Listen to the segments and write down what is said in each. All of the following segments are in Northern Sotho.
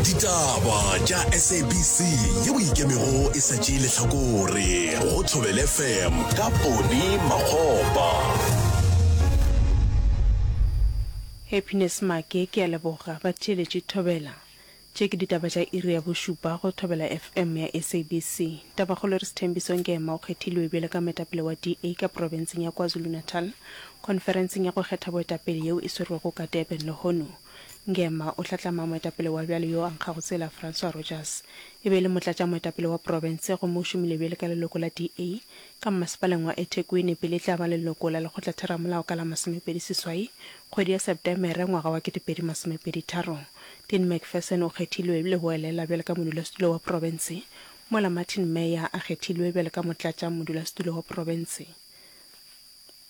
Ditaba tša SABC yeo e ikemego e sa tšee lehlakore go Thobela FM ka Poni Makgopa. Happiness Make, Ke a leboga. Batheeletši Thobela. Tše ke ditaba tša iri ya bošupa go Thobela FM ya SABC. Tabakgolo e re Sthembiso Ngema o kgethilwe bjalo ka moetapele wa DA ka profenseng ya KwaZulu-Natal khonferenseng ya go kgetha boetapele yeo e swerwego ka Durban lehono. Ngema o hlatlama moetapele wa bjale yo a nkgago tsela Francois Rogers. E be e le motlatšamoetapele wa profense gomme o šomile bjale ka leloko la DA ka mmasepaleng wa eThekwini pele e tla ba leloko la lekgotlatheramolao ka la 28 kgwedi ya Septemere ngwaga wa 2023. Dean McPherson o kgethilwe leboelela bjalo ka modulasetulo wa profense mola Martin Meyer a kgethilwe bjalo ka motlatšamodulasetulo wa profense.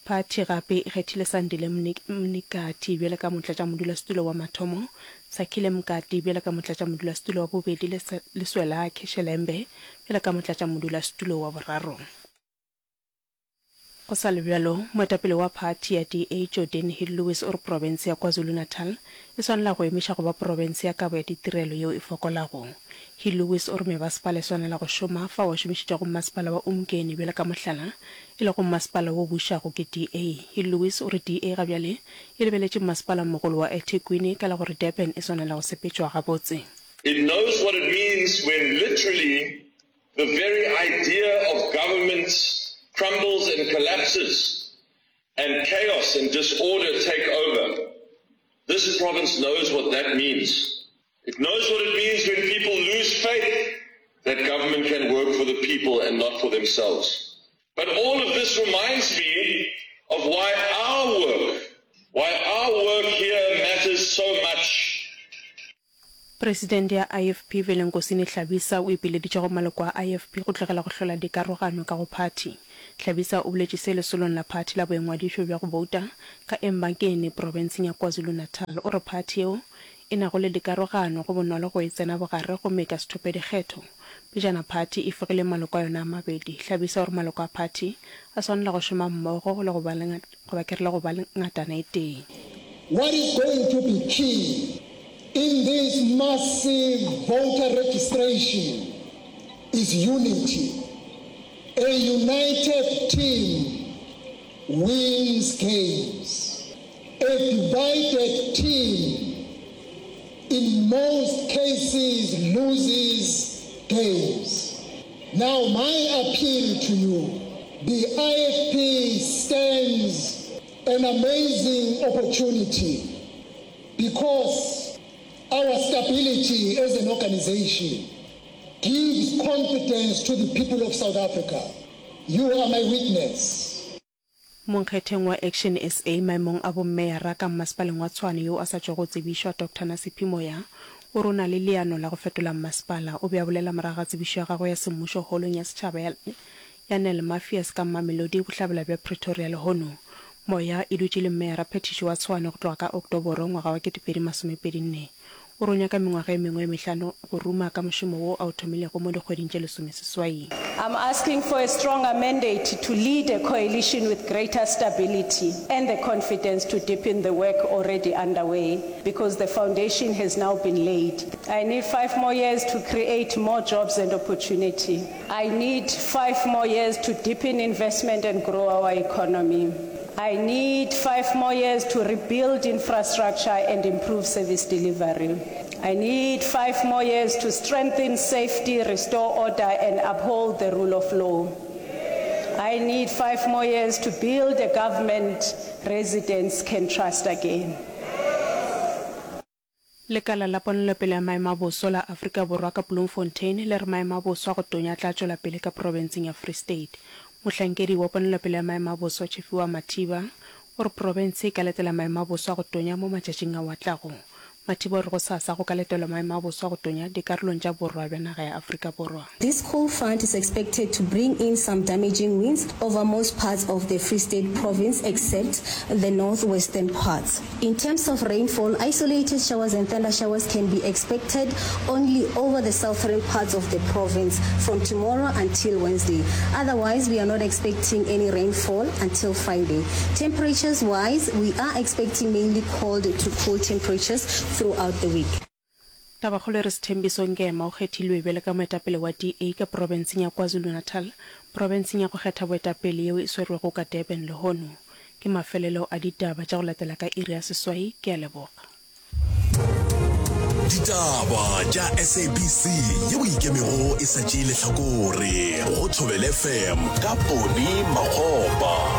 Phathi gape e kgethile Sandile Mnikathi bjalo ka motlatšamodulasetulo wa mathomo, Sakhile Mkati bjalo ka motlatšamodulasetulo wa bobedi le le Swelakhe Shelembe bjalo ka motlatšamodulasetulo wa boraro. Go sa le bjalo, moetapele wa phathi ya DA Geordin Hill-Lewis o re profense ya KwaZulu-Natal e swanela go emiša go ba profense ya kabo ya ditirelo yeo e fokolago. Hill-Lewis o re mebasepala e swanela go šoma fao a šomišitšego mmasepala wa Umngeni bjalo ka mohlala, e lego mmasepala wo bušago ke DA. Hill-Lewis o re DA ga bjale e lebeletše mmasepalamogolo wa eThekwini ka la gore Durban e swanela go sepetšwa gabotse. It knows what it means when literally the very idea of government crumbles and collapses and chaos and disorder take over. This province knows what that means. It knows what it means when people lose faith that government can work for the people and not for themselves. But all of this reminds me of why our work, why our work here matters so much. Presidente ya IFP Velenkosini Hlabisa o ipileditše go maloko a IFP go tlogela go hlola dikarogano ka go phathi. Hlabisa o boletše se lesolong la phathi la boingwadišo bja go bouta ka Embankeni profenseng ya KwaZulu-Natal. O re phathi yeo e nago le dikarogano go bonolo go e tsena bogare gomme e ka se thope dikgetho. Pejana phathi e fegile maloko a yona a mabedi. Hlabisa o re maloko a phathi a swanela go šoma mmogo le go ba le goba ke re le go ba le ngatana e tee. What is going to be key in this massive voter registration is unity. A united team wins games. A divided team in most cases loses games. Now my appeal to you, the IFP stands an amazing opportunity because our stability as an organization gives confidence to the people of South Africa. You are my witness. Monkgetheng wa Action SA maemong a bommeyara ka mmasepaleng wa Tshwane yo a sa tšwago go tsebišwa, Doctor Nasiphi Moya, o re o na le leano la go fetola mmasepala. O be a bolela morago ga tsebišo ya gagwe ya semmušo holong ya setšhaba ya ya Nel Mafias ka Mamelodi, bohlabela bja Pretoria lehono. Moya e dutše le mmeyara phethiši wa Tshwane go tloga ka Oktoboro ngwaga wa 2024. O re o nyaka mengwaga e mengwe e mehlano go ruma ka mošomo wo a o thomilego mo dikgweding tše lesomeseswai. I'm asking for a stronger mandate to lead a coalition with greater stability and the confidence to deepen the work already underway because the foundation has now been laid. I need five more years to create more jobs and opportunity. I need five more years to deepen investment and grow our economy. I need five more years to rebuild infrastructure and improve service delivery. I need five more years to strengthen safety, restore order and uphold the rule of law. I need five more years to build a government residents can trust again. Lekala la Ponelopele ya Maemo a Boso la Afrika Borwa ka Bloemfontein le re maemo a boso a go tonya a tla tšwela pele ka profenseng ya Free State. Mohlankedi wa Ponelopele ya Maemo a Boso Tshifhiwa Mathiba o re profense e ka letela maemo a boso a go tonya mo matšatšing ao a tlago. Mathiba o re gosasa go ka letelwa maemo a boso a go tonya dikarolong tša borwa bja naga ya Afrika Borwa. This cold front is expected to bring in some damaging winds over most parts of the Free State province except the northwestern parts. In terms of rainfall, isolated showers and thunder showers can be expected only over the southern parts of the province from tomorrow until Wednesday. Otherwise, we are not expecting any rainfall until Friday. Temperatures wise, we are expecting mainly cold to cool temperatures throughout the week. Tabakgolo e re Sthembiso Ngema o kgethilwe bjalo ka moetapele wa DA ka profenseng ya KwaZulu-Natal, profenseng ya go kgetha boetapele yeo e swerwego ka Durban lehono. Ke mafelelo a ditaba tša go latela ka iri ya seswai. Ke a leboga. Ditaba tša SABC yeo e ikemego e sa tšee lehlakore go Thobela FM ka Poni Makgopa.